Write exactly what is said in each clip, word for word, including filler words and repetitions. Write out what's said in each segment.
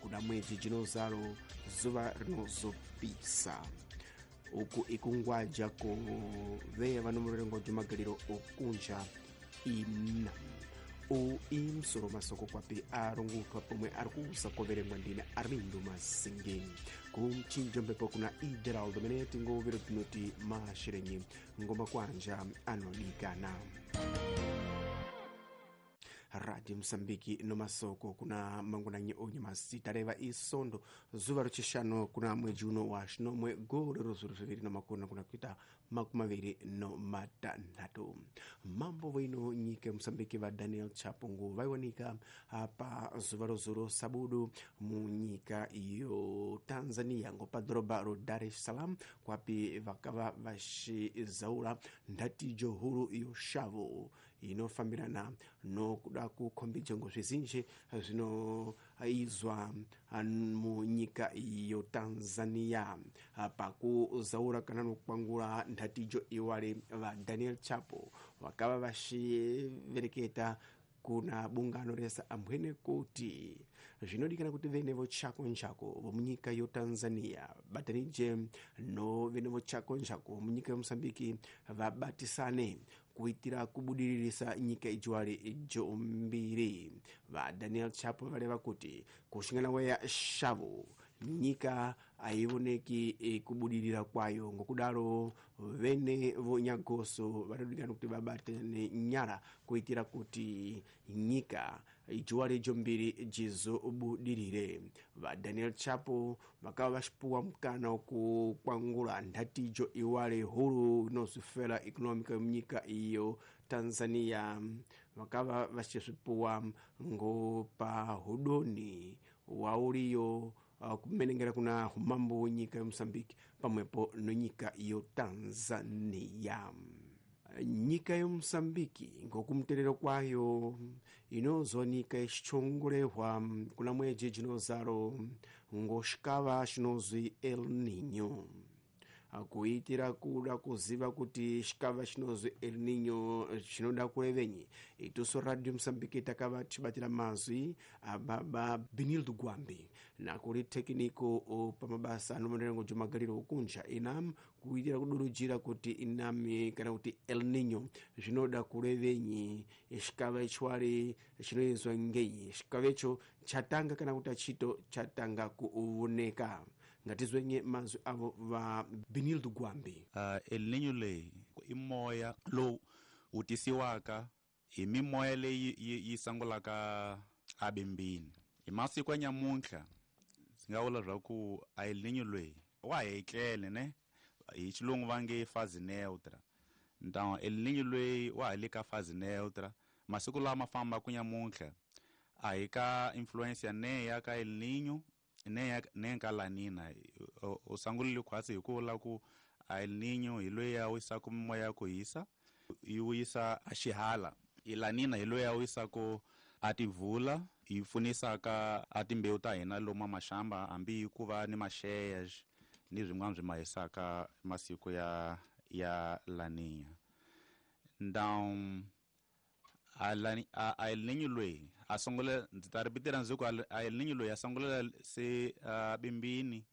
Kuna mwedzi jinozalo zuva rinozopisa. Uku ikungwaja ku veya vanomurengo jumagaliro okunja ina u imsoro masoko kwapi arongutwa pomwe ari kuusa koverengwa ndine Armindo Masingeni. Kumchinjo mbepo kuna Ideraldo Meneti ngovero tinoti mashirenyi ngoma kwanja anodikana. Radio Msambiki no masoko kuna mangunanyi onye masitareva isondo zuva rochishanu kuna mwedzi uno wa shinomwe gore rozuru zviviri na makumi kuna kuita makumi maviri no matanhatu. Mambo wino nyika Msambiki va Daniel Chapungu vaiwanika pa zuva rozuru sabudu munyika yo Tanzania ngo padhorobha ro Dar es Salaam kwapi vakava vachizaura ndatijo huru yo shavo inofambirana no kuda kukhombidza ngo zvizinji zvinoizwa munyika yo Tanzania. Pakuzaura kana nokukwangura ndatijo iwale va Daniel Chapo vakava vachivereketa kuna bungano resa ambwene kuti zvinodikana kuti vene vochako nchako vomunyika yo Tanzania batanije no vene vochako nchako vomunyika yo Mosambiki vabatisane kuitira kubudiririsa nyika ijiwali jombiri. Va Daniel Chapo valeva kuti kushingana weya shavo nyika aioneki e, kubudirira kwayo, ngokudaro vene vonyagoso vanodikana kuti vabatane nyara kuitira kuti nyika ijiwali jombiri jizobudirire. Va Daniel Chapo vakava vachipuwa mukana wokukwangula ndatijo iwale huru inozifela economica munyika iyo Tanzania, vakava vachisvipuwa ngo pahudoni wauliyo uh, kumenengera kuna humambo wenyika yomosambiki pamwepo nonyika yo Tanzania. Nyika yomosambiki ngokumterero kwayo inozonika ichichongolehwa kuna mwedzi jinozaro ngoxikava xinozwi El Niño. Kuitira kuda kuziva kuti xikava xinozwi El Niño xinoda kurevenyi, ituso Radio Mosambiki takava tichibatira mazwi ababa Benildo Gwambi nakuri tekiniko pamabasa anomanerengo jumagariro okunja inam kuitira kudurujira kuti inami kana kuti El Niño zvinoda kurevenyi, xikava ichwari chinoizwa ngenyi, xikava icho chatanga kana kuti achito chatanga kuoneka. Ngatizwenye mazwi avo va Benildo Gwambi. Uh, El Niño leyi i moya lowu wu tisiwaka hi mimoya leyi yi, yi sangulaka abimbini. Hi masiku ya nyamuntlha ndzi nga vula swa ku a El Niño leyi wa ha etlele ne, hi xilungu va nge phase neutra. Então El Niño leyi wa ha le ka phase neutra. Masiku lama fambaka nyamuntlha a hi ka influence ya ne ya ka El Niño ne ne ka La Nina. U sangulile khwatsi hi ku vula ku a El Niño hi loyi a wisaka mimoya ya ku hisa yi wisa a xihala, i La Nina hi loyi a wisaka a tivula yi pfunisaka a timbewu ta hina lomu maxamba hambi ku va ni maxeya ni swin'wana swi ma hisaka masiku ya ya La Nina. Então a a El Niño loyi a sungula, ndzi ta ripitira ndzi ku a El Niño loyi a sungulela se uh, bimbini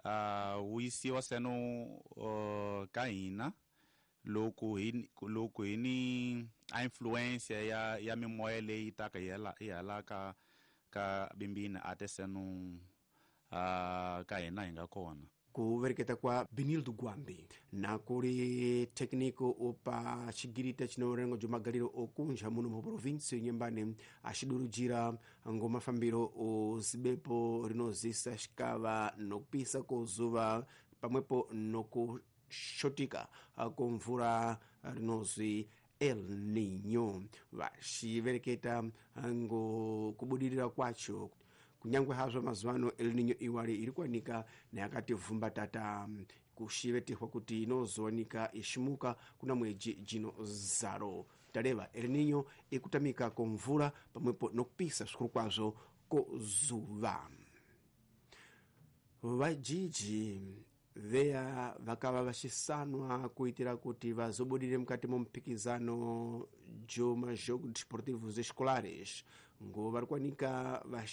uh, wu yisiwa seno uh, ka hina loko hi loko hi ni a influence ya ya mimoya leyi taka hi hala hi hala ka ka bimbini a te seno uh, ka hina hi nga kona. Kuvereketa kwa Benildo Gwambi na kuri tekniko opa chigirita chinorengo jumagaliro okunja muno mu provinsi nyembane achidurujira ngo mafambiro ozibepo rinozisa xikava nokupisa kozuva pamwepo nokushotika komvura rinozwi El Niño. Vaxivereketa ngo kubudirira kwacho kunyangwe hazvo mazuva ano El Niño iwali iri kuwanika neyakati vhumbatata kushivetehwa kuti inozowanika ishimuka kuna mwedzi jino zaro. Tareva El Niño ikutamika komvura pamwepo nokupisa zvikuru kwazvo kozuva. Vajiji veya vakava vachisanwa kuitira kuti vazobudire mukati momupikizano joma jogo desportivos escolares ngo vari kuwanika